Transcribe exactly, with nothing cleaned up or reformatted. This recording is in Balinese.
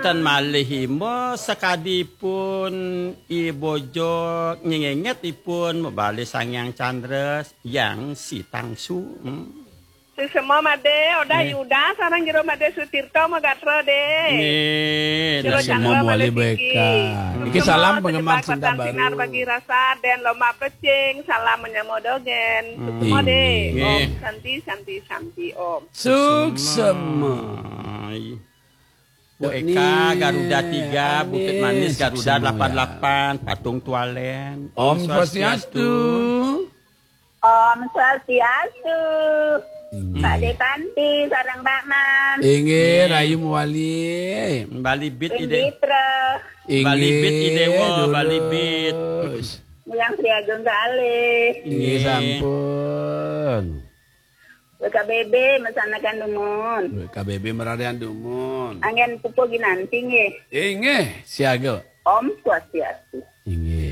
Ten malih imo sakadi ipun I Bojog nyengenget ipun mabali Sang Hyang Candra, Hyang Sitangsu. Hmm. Sesama Made, Odah Yuda, sareng Jero Made Sutirta magatra, Dé. Nggih, Jero Candra Made Siki. Iki salam penggemar Cinta Baru. Sinar bagi rasa dan lomba pecing, salam menyamo dogen. Hmm. Sesama, Dé. Nggih. Om Santi, Santi, Santi, Om. Suksema. Bu Eka, Garuda tiga, Bukit Manis, Garuda delapan delapan, Patung Tualen. Om Swastiastu. Om Swastiastu. Pak Depanti, sareng Pak Man. Inggih, rahayu mawali. Bali Bit Ide. Inditra. Bali Bit Idewa, Bali Bit. Yang Sri Agung Kalih. Inggih, sampun. W K B B, masanakan dumun. W K B B, mararian dumun. Anggen pupuh ginanti, nggih. Inggih, siaga. Om Swastiastu. Inggih.